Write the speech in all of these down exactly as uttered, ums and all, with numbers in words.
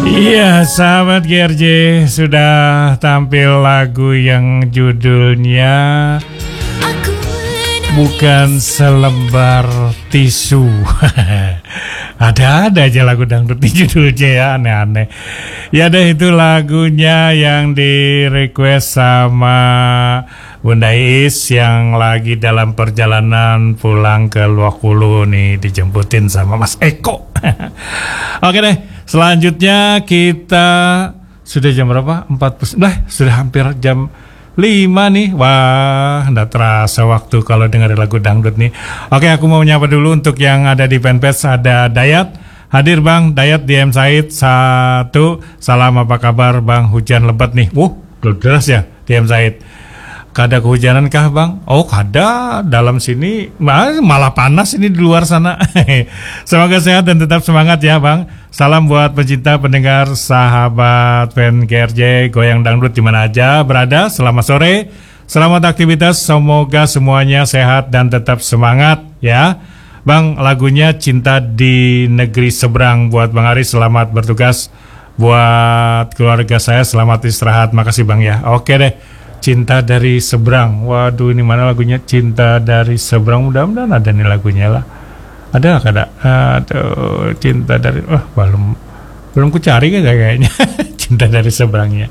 Iya, sahabat G R J, sudah tampil lagu yang judulnya Bukan Selembar Tisu. Ada-ada aja lagu dangdut di judulnya ya, aneh-aneh. Ya deh, itu lagunya yang di-request sama Bunda Is yang lagi dalam perjalanan pulang ke Luakulu nih, dijemputin sama Mas Eko. Oke deh, selanjutnya kita sudah jam berapa? Empat puluh. Lah, sudah hampir jam lima nih. Wah, ndak terasa waktu kalau dengerin lagu dangdut nih. Oke, aku mau menyapa dulu untuk yang ada di fanpage, ada Dayat. Hadir Bang, Dayat D M Said satu. Salam, apa kabar Bang? Hujan lebat nih. Wuh, deras ya D M Said. Kada kehujanan kah Bang? Oh, kada. Dalam sini ma-, malah panas ini di luar sana. Semoga sehat dan tetap semangat ya Bang. Salam buat pecinta, pendengar, sahabat fan G R J Goyang Dangdut di mana aja berada. Selamat sore, selamat aktivitas. Semoga semuanya sehat dan tetap semangat ya. Bang, lagunya Cinta di Negeri Seberang buat Bang Ari. Selamat bertugas. Buat keluarga saya, selamat istirahat. Makasih Bang ya. Oke deh. Cinta dari Seberang. Waduh, ini mana lagunya? Cinta dari Seberang. Mudah-mudahan ada nih lagunya lah. Ada kada? Aduh, Cinta dari, wah, belum, belum kucari kayaknya. Cinta dari Seberangnya.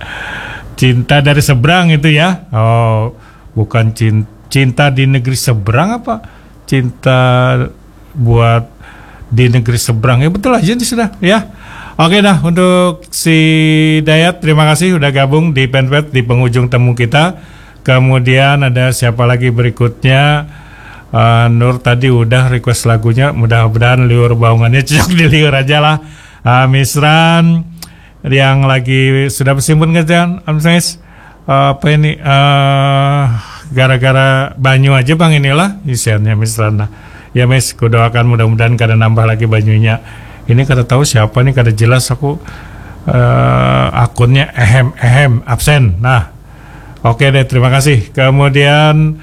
Cinta dari Seberang itu ya. Oh, bukan cin-, Cinta di Negeri Seberang apa? Cinta buat di negeri seberang. Ya, betul aja nih sudah ya. Oke dah, untuk si Dayat, terima kasih udah gabung di fanpage di penghujung temu kita. Kemudian ada siapa lagi berikutnya? Eh, Nur tadi udah request lagunya, mudah-mudahan liur baungannya cocok di liur aja lah. Ah, Misran yang lagi sudah bersimpun kerjaan, Amsais, apa ini, eh, gara-gara banyu aja Bang inilah isiannya Misran. Nah, ya Mis, kudoakan mudah-mudahan kada nambah lagi banyunya. Ini kada tahu siapa nih, kada jelas aku, eh, akunnya, ehem ehem absen. Nah, oke deh, terima kasih. Kemudian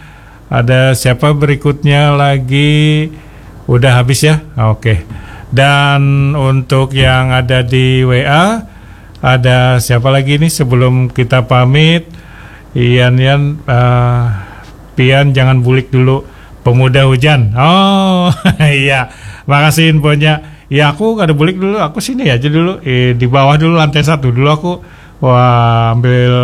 ada siapa berikutnya lagi? Udah habis ya? Oke. Dan untuk yang ada di W A, ada siapa lagi nih sebelum kita pamit? Ian, Ian, eh, Pian jangan bulik dulu. Pemuda hujan. Oh, iya. Makasih infonya. Ya, aku kada bulik dulu. Aku sini aja dulu. Eh, di bawah dulu, lantai satu dulu aku. Wah, ambil,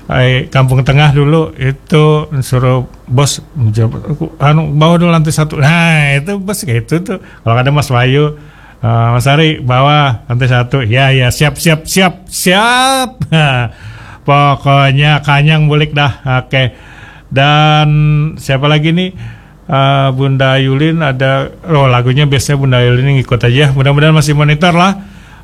eh, Kampung Tengah dulu. Itu suruh bos, aku, anu, bawah dulu lantai satu. Nah, itu bos kayak itu tuh. Kalau ada Mas Wahyu, eh, Mas Ari, bawah lantai satu. Ya, ya, siap, siap, siap, siap. Pokoknya kanyang bulik dah. Oke. Dan siapa lagi nih? Eh, Bunda Yulin ada, oh, lagunya biasanya Bunda Yulin ngikut aja. Mudah-mudahan masih monitor lah.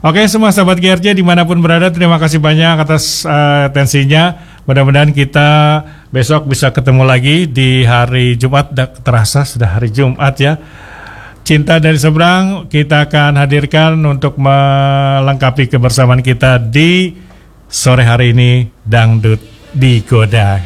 Oke, semua sahabat G R J dimanapun berada, terima kasih banyak atas, eh, atensinya. Mudah-mudahan kita besok bisa ketemu lagi di hari Jumat. Dah terasa sudah hari Jumat ya. Cinta dari Seberang kita akan hadirkan untuk melengkapi kebersamaan kita di sore hari ini, Dangdut Digoda.